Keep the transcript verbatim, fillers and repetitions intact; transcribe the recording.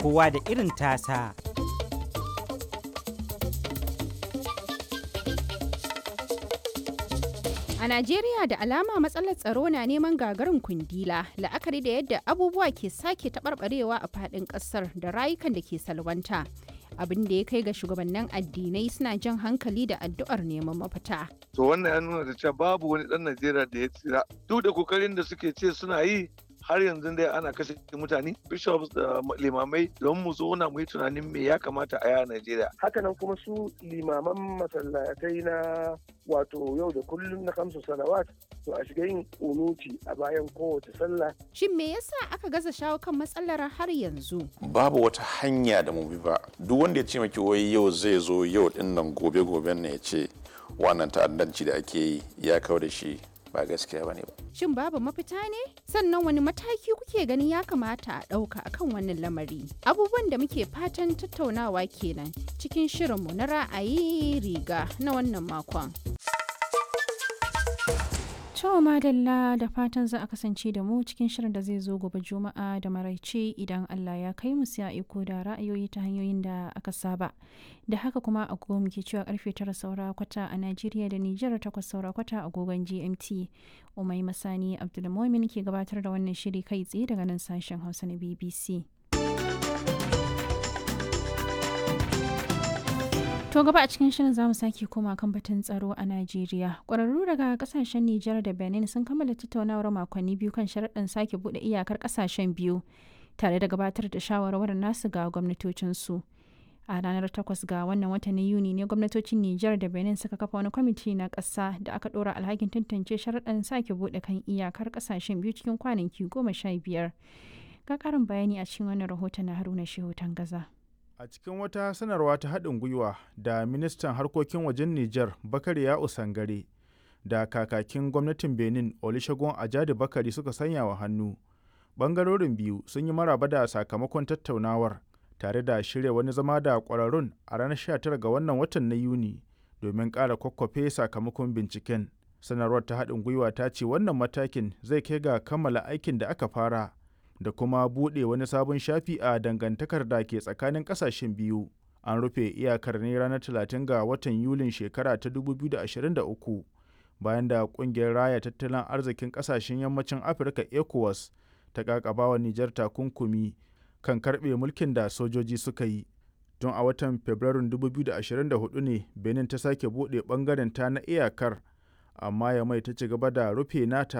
Kowa da irin tasa. A Najeriya da alama matsalar tsaro na neman gagarin kundila, la'akari da yadda abubuwa ke sake taɓarɓarewa a faɗin ƙasar da rayukan da ke salwanta. Abin da ya kai ga shugabannin addinai suna jan hankali da addu'ar neman mafita. To wannan ya nuna da cewa babu wani ɗan Najeriya da ya tsira. Duk da kokarin da suke ce suna yi, har yanzu dai ana kashe mutane, bishops da limamai, don mu zauna mu yi tunanin me ya kamata a yi a Najeriya. Hakanan kuma su limaman masallatai na wato yau da kullum na kamsu salawat, to a shiga yin kunuti a bayan kowace sallah. Shin me yasa aka gaza shawo kan matsalar har yanzu? Babu wata hanya da mu bi ba. Duk wanda ya ce maki wai yau zai zo yau din nan, gobe goben ne ya ce wannan ta'addanci da ake yi ya kawo da shi, ba gaskiya bane ba. Shin babu mafita ne? Sannan wani mataki kuke ganin ya kamata a ɗauka akan wannan lamari? Abubuwan da muke fatan tattaunawa kenan cikin shirinmu na ra'ayi riga na wannan makon. To madalla, da fatan za a kasance da mu cikin shirin da zai zo gobe Juma'a da maraice idan Allah ya kai mu, sai a iko da ra'ayoyi ta hanyoyin da aka saba. Da haka kuma agogo muke cewa karfe tara saura kwata a Najeriya da Nijar, takwas saura kwata agogon G M T. Umai Masani Abdulmumin ke gabatar da wannan shiri kai tsaye daga nan sashen Hausa na B B C. To gaba a cikin shirin zamu sake koma kan batun tsaro a Najeriya. Ƙwararru daga kasashen Nijar da Benin sun kammala tattaunawar makonni biyu kan sharaɗin sake buɗe iyakar kasashen biyu tare da gabatar da shawarwarin nasu ga gwamnatocinsu. A ranar takwas ga wannan watan na Yuni ne gwamnatocin Nijar da Benin suka kafa wani kwamiti na ƙasa da aka ɗora alhakin tantance sharaɗin sake buɗe kan iyakar kasashen biyu cikin kwanaki goma sha biyar. Ga ƙarin bayani a cikin wannan rahoton na Haruna Shehu Tangaza. A cikin wata sanarwa ta haɗin gwiwa da ministan harkokin wajen Nijar Bakari Ya'u Sangare da kakakin gwamnatin Benin Olusegun Ajadi Bakari suka sanya wa hannu, ɓangarorin biyu sun yi maraba da sakamakon tattaunawar tare da shirya wani zama da ƙwararrun a ranar sha tara ga wannan watan na Yuni domin ƙara kwakwafe sakamakon binciken. Sanarwar ta haɗin gwiwa ta ce wannan matakin zai kai ga kammala aikin da aka fara da kuma buɗe wani sabon shafi a dangantakar da ke tsakanin ƙasashen biyu. An rufe iyakar ne ranar talatin ga watan Yulin shekara ta dubu biyu da ashirin da uku bayan da ƙungiyar raya tattalin arzikin ƙasashen yammacin Afirka ECOWAS ta ƙaƙabawa Nijar takunkumi kan karɓe mulkin da sojoji suka yi. Tun a watan Fabrairun dubu biyu da ashirin da huɗu ne Benin ta sake buɗe ɓangaren ta na iyakar, amma Yamai ta ci gaba da rufe nata.